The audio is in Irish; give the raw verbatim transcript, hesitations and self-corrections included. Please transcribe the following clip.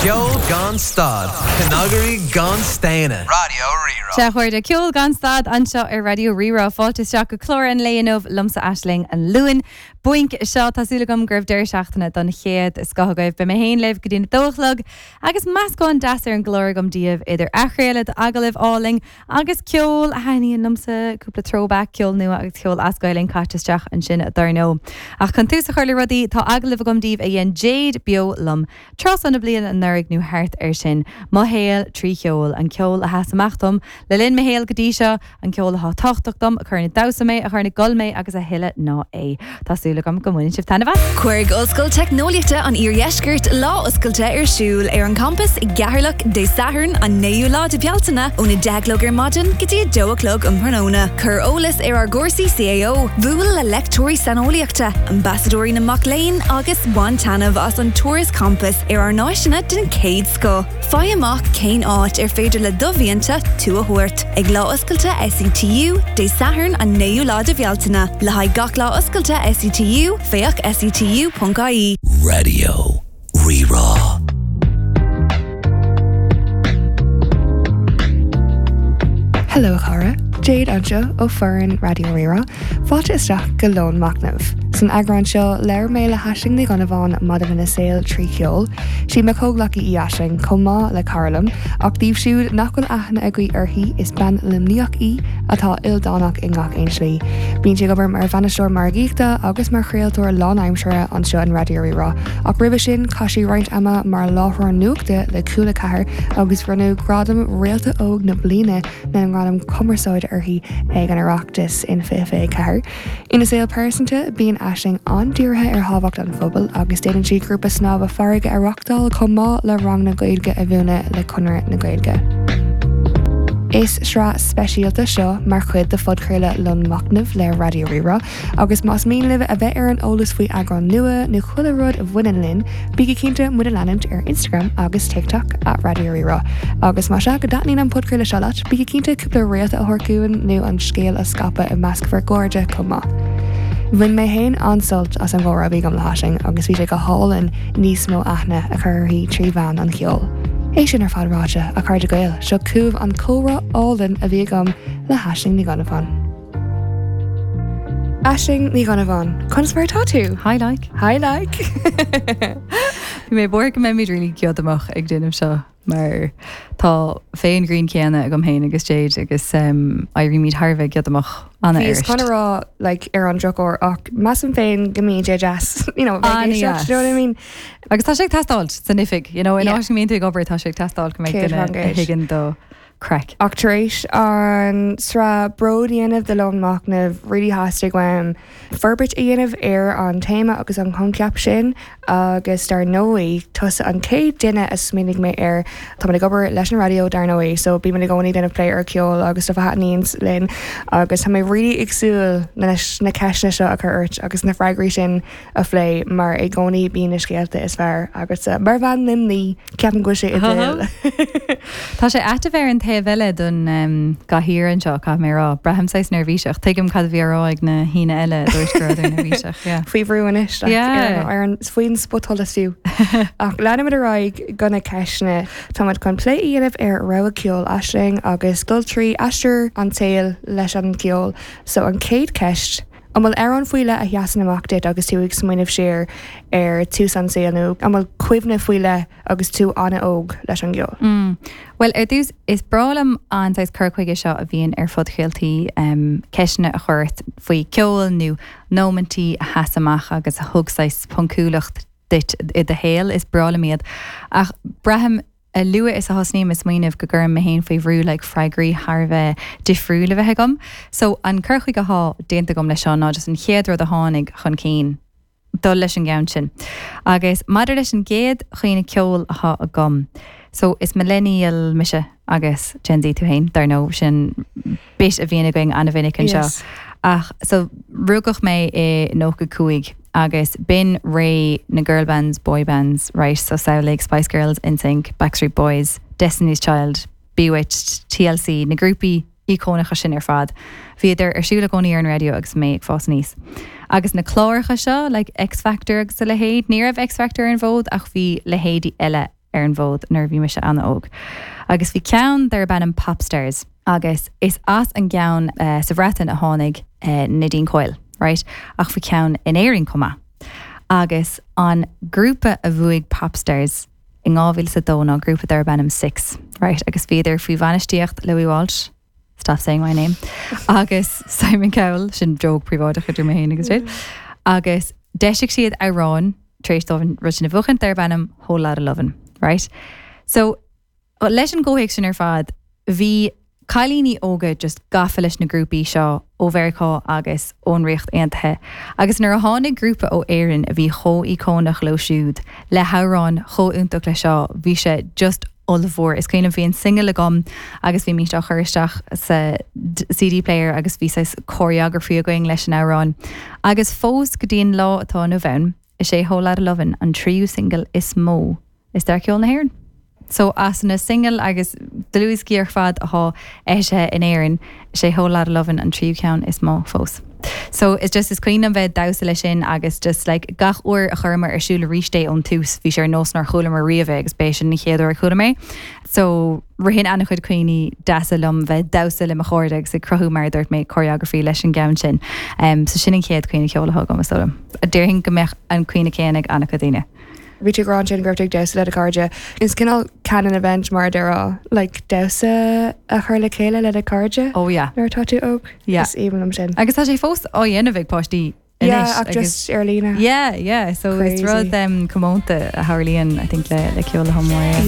Ceol gan stad, Cnagairí gan staonadh. Raidió Rí-Rá. Sea, a chairde, ceol gan stad anseo ar Raidió Rí-Rá. Fáilte isteach go clár an lae inniu liomsa Aisling an Luain. Buinc seo tá súil agam go raibh deireadh seachtaine den chéad scoth agaibh. Beidh mé féin libh go dtí a dó a chlog agus meascán deas ar an gclár agam daoibh idir athchraoladh agallaimh álainn agus ceol a thaitníonn liomsa cúpla throwback ceol nua agus ceol as Gaeilge caite isteach ansin dar ndóigh. Ach chun tús a chur le rudaí tá agallamh agam daoibh a dhein Jade beo liom. Tráth na bliana anuraidh nó thart air sin, mo shaol trí cheol an ceol a sheas amach dom le linn mo shaol go dtí seo an ceol atá tábhachtach dom a chuireann ag damhsa mé a chuireann ag gol mé agus a thuilleadh ná é. Tá súil agam go mbaineann sibh taitneamh as. Cuirfidh Ollscoil Teicneolaíochta an Iardheiscirt lá oscailte ar siúl ar an campas i gCeatharlach Dé Sathairn an naoú lá de Bhealtaine óna deich a chlog ar maidin go dtí a dó a chlog um thráthnóna. Cuir eolas ar ár gcúrsaí C A O, buail le léachtóirí saineolaíochta, ambasadóirí na mac léinn agus bain taitneamh as an turas campais ar ár n-áiseanna den chéad scoth. Faigh amach cén áit ar féidir le do mhianta tú a thabhairt. Ag lá oscailte S E T U Dé Sathairn an naoú lá de Bhealtaine, le haghaidh gach lá oscailte S E T U féach S E T U ponc I E. Raidió Rí-Rá. Hello chara, Jade anseo ó fhoireann Raidió Rí-Rá, fáilte isteach go Lón Machnaimh. San eagrán seo labhair mé le hAisling Ní Dhonnabháin maidir lena saol trí cheol, Sí mo chomhghleacaí í Aisling chomh maith le cara liom, ach daoibh siúd nach bhfuil aithne agaibh uirthi is bean Luimníoch í atá ildánach i ngach aon slí. Bíonn sí ag obair mar bhainisteoir margaíochta agus mar chraoltóir lánaimseartha anseo in Raidió Rí-Rá, ach roimhe sin chaith sí roinnt ama mar láithreoir nuachta le Cúla Ceathair agus bronnadh gradam Réalta Óg na Bliana na ngradam cumarsáide uirthi ag an Oireachtas in fiche fiche ceathair. Ina saol pearsanta bíonn Aisling an-dírithe ar thábhacht an phobail agus déanann sí grúpa snámha farraige a reáchtáil chomh maith le ranganna Gaeilge a mhúineadh le Conradh na Gaeilge. Is sraith speisialta seo mar chuid de phodchraoladh Lón Machnaimh le Raidió Rí-Rá, agus más mian libh a bheith ar an eolas faoi eagráin nua nó chuile rud a bhaineann linn, bígí cinnte muid a leanúint ar Instagram agus TikTok at Raidió Rí-Rá. Agus más ea go dtaitníonn an podchraoladh seo leat, bígí cinnte cúpla réalta a thabhairt dúinn nó an scéal a scaipeadh i measc bhur gcairde chomh maith. Bhain mé féin an-sult as an gcomhrá a bhí agam le hAisling agus bhí sé go hálainn níos mó aithne a chur uirthi trí mheán an cheoil. É sin ar fad ráite a chairde Gael seo chugaibh an comhrá álainn a bhí agam le hAisling Ní Dhonnabháin. Aisling Ní Dhonnabháin, Conas mar atá tú? Hi like. Hi like. Bhí mé buartha go mbeimid really giodamach ag déanamh seo mar tá féin green céanna agam féin agus Jade agus um, éirímid thar a bheith giodamach ana Bhíos chun a rá like, ar an drochuair ach measaim féin go mbíonn sé deas you know, bheith ag éisteacht, you know what I mean? Agus tá sé ag teastáil san oifig, you know, in Yeah. áit go mbíonn tú ag obair tá sé ag teastáil go mbeidh Céad duine faoin gcéad. a thuigeann do craic. Ach tar éis an sraith Bród a dhéanamh de Lón Machnaimh really theastaigh uaim forbairt a dhéanamh ar an téama agus an coincheap sin agus dar ndóigh tusa an chéad duine a smaoinigh mé air. Tá ag obair leis an raidió dar ndóigh, so bímid i gcónaí déanamh plé ar ceol agus stuff a thaitníonn linn agus tá mé really ag súil leis na ceisteanna seo a chur ort agus na freagraí sin a phlé mar i gcónaí bíonn na scéalta is fearr agus uh, mar bhean Luimnigh ceapaim go bhfuil sé idéal. Tá sé ait a bheith ar an taobh eile don um, gcathaoir anseo caithfidh mé rá, Braithim saghas neirbhíseach, tuigim cad a bhí á rá ag na haoinne eile dúirt go rabhadar neirbhíseach. yeah. Faoi bhrú anois like, Yeah. ar, ar an faoin spotsholas fiú. Ach leanfaimid ar aghaidh go na ceisteanna Táimid chun plé a dhéanamh ar rogha ceoil Aisling agus dul trí aistear an tsaoil leis an gceol. So an chéad cheist, An bhfuil amhrán faoi leith a sheasann amach duit agus tú ag smaoineamh siar ar tús an saol nó an bhfuil cuimhne faoi leith agus tú an-óg leis an gceol. Mm. Well ar dtús is breá liom an saghas cur chuige seo a bhíonn ar phodchraoltaí um, ceisteanna a chur ort faoi ceol nó nóimintí a sheas amach agus a thug saghas poncúlacht duit i do shaol is breá liom iad. Ach braithim a luaithe is a thosnaím ag smaoineamh go gcuirim mé féin faoi bhrú le freagraí thar a bheith difriúil a bheith agam. So an cur chuige atá déanta agam leis seo ná just an chéad rud a tháinig chun cinn dul leis an gceann sin. Agus maidir leis an gcéad chuimhne ceoil atá agam. So is millennial mise agus Gen Z tú féin dar ndóigh sin bit a bhíonn againn an-mhinic anseo. Yes. Ach so rugadh mé i nócha cúig agus b'in ré na girl bands, boy bands, right? So samhlaigh Spice Girls, NSYNC, Backstreet Boys, Destiny's Child, B*Witched, T L C, na grúpaí íocónacha sin ar fad. Bhíodar ar siúl i gcónaí ar an raidió agus mé ag fás aníos. Agus na cláracha seo, like X Factor agus a leithéid, ní raibh X Factor ar an bhfód ach bhí leithéidí eile ar an bhfód nuair bhí mise an-óg. Agus bhí ceann darb ainm Popstars agus is as an gceann uh, sa Bhreatain a tháinig uh, Nadine Coyle, right? Ach bhí ceann in Éirinn chomh maith. Agus an grúpa a bhuaigh Popstars in dhá mhíle a dó ná grúpa darb ainm Six, right? Agus bhíodar faoi bhainistíocht Louis Walsh. Stop saying my name. Agus Simon Cowell sin joke príobháideach idir mé féin agus mm. Agus d'eisigh siad amhrán tar éis dóibh rud sin a bhuachan darb ainm Whole Lotta Lovin', right? So leis an gcomhthéacs sin ar fad, bhí cailíní óga just gafa leis na grúpaí seo ó Mheiriceá agus ón Ríocht Aontaithe. Agus nuair a tháinig grúpa ó Éirinn a bhí chomh íocónach leo siúd le hamhrán chomh iontach le seo, bhí sé just ollmhór. Is cuimhin bhí an single agam agus bhí mé á chur isteach sa CD player agus bhí choreography againn leis an amhrán. Agus fós go dtí an lá atá inniu ann, is é Whole Lotta Lovin' an tríú single is mó i stair ceol na hÉireann. So as na single agus dlúthdhioscaí ar fad atá eisithe in Éirinn sé Whole Lotta Lovin' an tríú ceann is mó fós. So it's just is cuimhin bheith damhsa leis sin agus just like gach uair a chuireamar ar siúl arís é ón tús bhí sé ar nós nár chualamar riamh agus b'é sin an chéad uair a chuala mé. So ritheann an-chuid cuimhní deasa liom bheith damhsa le mo chairde agus ag cruthú mar dúirt mé choreography leis an gceann sin. Um, so sin an chéad cuimhne ceoil atá agam is Déarfainn go mbeadh an cuimhne céanna ag an-chuid daoine. Bhí tú ag rá sin go raibh tú ag damhsa le do chairde. Is cineál canon event mar deirtear like damhsa a chur le chéile le do chairde Oh yeah. nuair atá tú óg Yeah. Is aoibhinn liom sin. Agus tá sé fós á dhéanamh ag páistí Yeah, ach just ar líne. Yeah, yeah, so is Crazy. rud um, comónta a tharlaíonn I think le le ceol le mór. Yeah.